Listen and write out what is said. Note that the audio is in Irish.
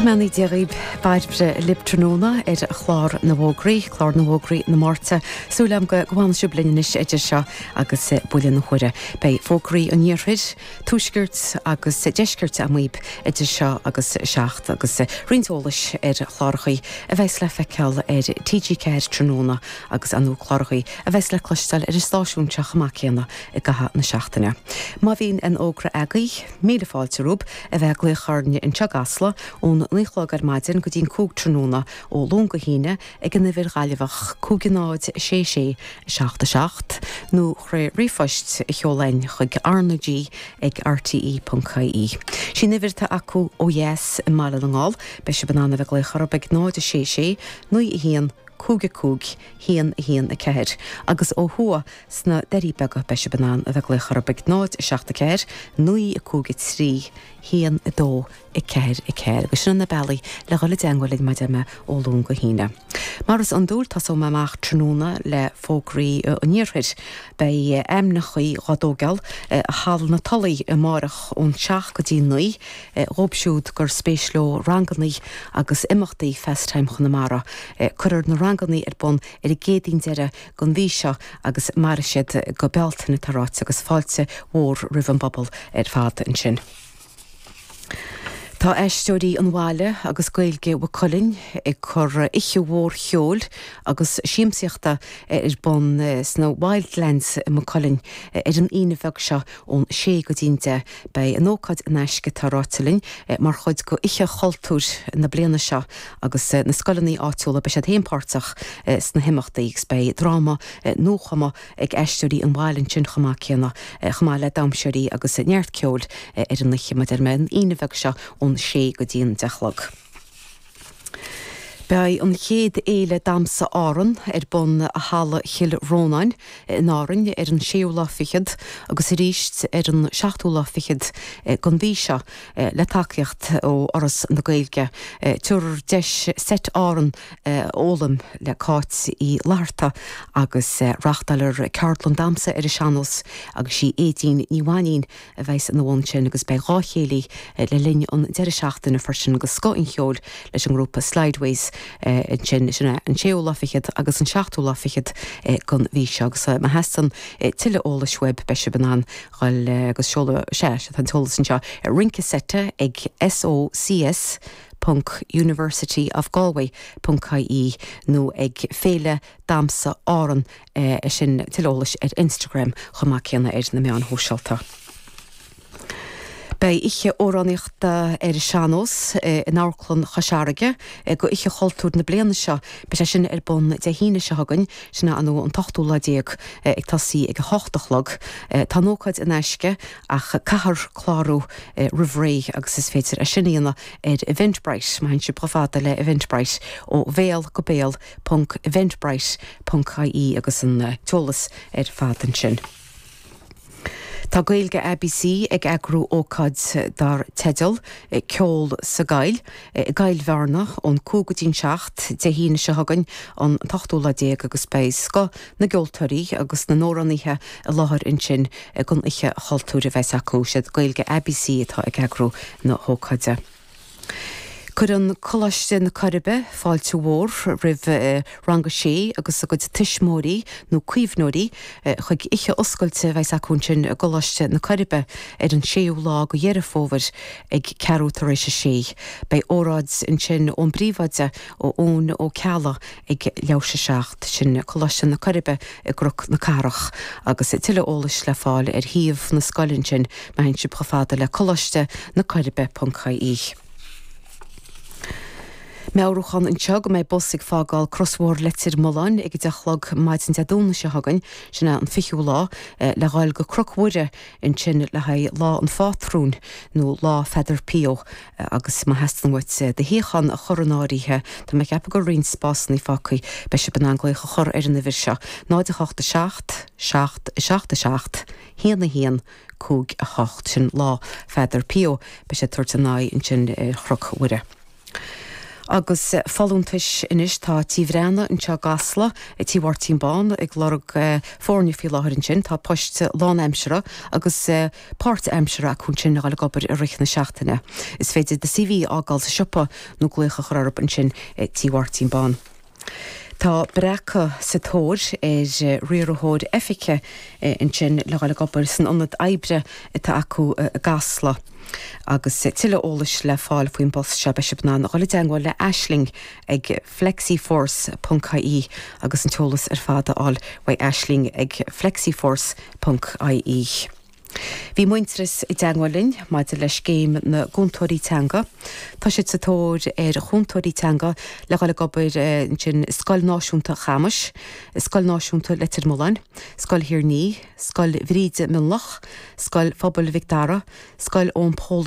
mbeannaí Dé dhaoib, Bairbre libh tráthnóna ar chlár na bhfógraí, clár na bhfógraí na Máirte. Súil agam go bhfanfaidh sibh linn anois idir seo agus buille na huaire. Beidh fógraí an iarthair, tuaiscirt agus deiscirt agam dhaoib idir seo agus 7 agus roinnt eolais ar chlárachaí a bheas le feiceáil ar TG4 tráthnóna agus ar ndóigh clárachaí a bheas le cloisteáil ar an stáisiún seo chomh maith céanna i gcaitheamh na seachtaine. Má bhíonn aon fhógra agaibh, míle fáilte romhaibh a bheith ag glaoch orainne anseo i gCasla ón 9 a chlog ar maidin go dtí an 5 tráthnóna ó Luan go hAoine ag an uimhir Ghaillimheach 5 0 6 6 7 7 nó thrí ríomhphost a sheoladh chuig RnaG ag rte.ie. Sí an uimhir atá acu ó dheas i mBaile na nGall, beidh sibh in ann a bheith ag glaoch orthu ag 0 6 6 9 1 5 5 1 1 4 agus ó thuaidh sna Doirí Beaga beidh sibh in ann a bheith ag glaoch orthu ag 0 7 4 9 5 3 1 2 4 4 agus sin na bealaí le dhul i dteangmháil linn mar a deir mé ó Luan go hAoine. Mar is iondúil tosóidh mé amach tráthnóna le fógraí an iarthair. Beidh ainmneachaí dhá dtógáil i Halla na Tulaí amáireach ón 7 go dtí 9 dhóibh siúd gur spéis leo rangannaí agus imeachtaí Fastime Chonamara. Cuirfear na rangannaí ar bun ar an gCéadaoin deiridh den mhí seo agus mairfidh siad go Bealtaine, atá ráite, agus fáilte mhór roimh an bpobal ar fad ansin. Tá Aisteoirí an Bhaile agus Gaeilge Mhaigh Cuilinn ag cur oíche mhór cheoil agus siamsaíochta ar bun sna Wildlands i Maigh Cuilinn ar an Aoine bheag seo ón 6 go dtí'n 10. Beidh an ócáid in aisce, tá ráite linn, mar chuid de Oíche Chultúir na bliana seo agus na scoileanna áitiúla, beidh siad féin páirteach sna himeachtaí agus beidh dráma nuachumtha ag Aisteoirí an Bhaile ansin chomh maith céanna, chomh maith le damhsóirí agus neart ceoil ar an oíche, mar a deir mé, an Aoine bheag seo ón sé go dtí an 10 a chlog. Beidh an chéad Fhéile Damhsa Árann ar bun i Halla Chill Rónáin in Árainn ar an séú lá fichead agus arís ar an seachtú lá fichead den mhí seo le tacaíocht ó Fhoras na Gaeilge. Tabharfar deis seit Árann a fhoghlaim le Cáit Uí Fhlatharta agus reáchtálfar ceardlann damhsa ar an sean-nós agus sí Aedín Ní Mhainín a bheas ina bhun sin agus beidh 2 chéilí le linn an deireadh seachtaine freisin de scoth an cheoil leis an ngrúpa Slideways ansin, sin é an séú lá fichead agus an seachtú lá fichead den mhí seo agus má theastaíonn tuilleadh eolais uaibh beidh sibh in ann dhul agus seoladh, sea, tá an t-eolas anseo, Rince Seite ag SOCS. ponc University of Galway ponc ie nó ag Féile Damhsa Árann sin tuilleadh eolais ar Instagram chomh maith céanna ar na meáin shóisialta. Beidh oíche amhránaíochta ar an sean-nós in Amharclann Chois Fharraige do Oíche Chultúir na bliana seo. Beidh sé sin ar bun Dé hAoine seo chugainn, sin é an an t-ochtú lá déag, ag tosaí ag a hocht a chlog. Tá an ócáid in aisce ach caithfear clárú roimh ré agus is féidir é sin a dhéanamh ar Eventbrite, má théann sibh chomh fada le Eventbrite, ó bhéal go béal ponc eventbrite ponc ie agus an t-eolas ar fad ansin. Tá Gaeilge ABC ag eagrú ócáid dar teideal 'Ceol sa gCoill' i gCoill Bhearna ón 5 go dtí'n 7 Dé hAoine seo chugainn an t-ochtú lá déag agus beidh scoth na gceoltóirí agus na n-amhránaithe i láthair ansin don oíche chultúir a bheas acu. Siad Gaeilge ABC atá ag eagrú na hócáide. Cuireann Coláiste na Coiribe fáilte mhór roimh Rang a Sé agus a gcuid tuismitheoirí nó caomhnóirí chuig oíche oscailte a bheas acu ansin i gColáiste na Coiribe ar an séú lá de Dheireadh Fómhair ag ceathrú tar éis a sé. Beidh óráid ansin ón bpríomhoide, ó Eoin Ó Ceallaigh, ag leathuair théis a 7, sin Coláiste na Coiribe i gCnoc na Cathrach, agus tuilleadh eolais le fáil ar shuíomh na scoile ansin má théann sibh chomh fada le coláiste na Coiribe ponc ie. Meabhrúchán anseo go mbeidh bus ag fágáil Crosbhóthar Leitir Mealláin ag a 10 a chlog maidin Dé Domhnaigh seo chugainn, sin é an 20ú lá, le dhul go Cnoc Mhuire ansin le haghaidh Lá an Phátrúin nó Lá Pheadair Pio. Agus má theastaíonn uait do shuíochán a chur in áirithe, tá mé ag ceapadh go bhfuil roinnt spásanna fágtha, beidh sibh in ann glaoch a chur ar an uimhir seo, 0 8 7 7 7 7 1 1 5 8. Sin Lá Pheadair Pio. Beidh sé ag tabhairt a n-aghaidh ansin ar Chnoc Mhuire. Agus folúntais anois, tá Tí Bhreathnaigh anseo i gCasla, Tí Mháirtín Bán, ag lorg foirne faoi láthair ansin. Tá poist lánaimseartha agus páirtaimseartha acu ansin le dhul ag obair i rith na seachtaine. Is féidir do CV a fhágáil sa siopa nó glaoch a chur orthu ansin i Tí Mháirtín Bán. Tá Breacadh sa tóir ar riarthóir oifige ansin le dhul ag obair san ionad oibre atá acu i gCasla. Agus tuilleadh eolais le fáil faoin bpost seo beidh sibh in ann a dhul i dteagmháil le Aisling ag flexiforce ponc ie agus an t-eolas ar fad a fháil uaidh Aisling ag flexiforce ponc ie. Bhí Muintearas i dteagmháil linn maidir le scéim na gcúntóirí teanga. Tá siad sa tóir ar chúntóirí teanga le dhul ag obair ansin i Scoil Náisiúnta Chamais, Scoil Náisiúnta Leitir Mealláin, Scoil Thír an Fhia, Scoil Bhríde Mionlach, Scoil Phobail Mhic Dara, Scoil Eoin Pól.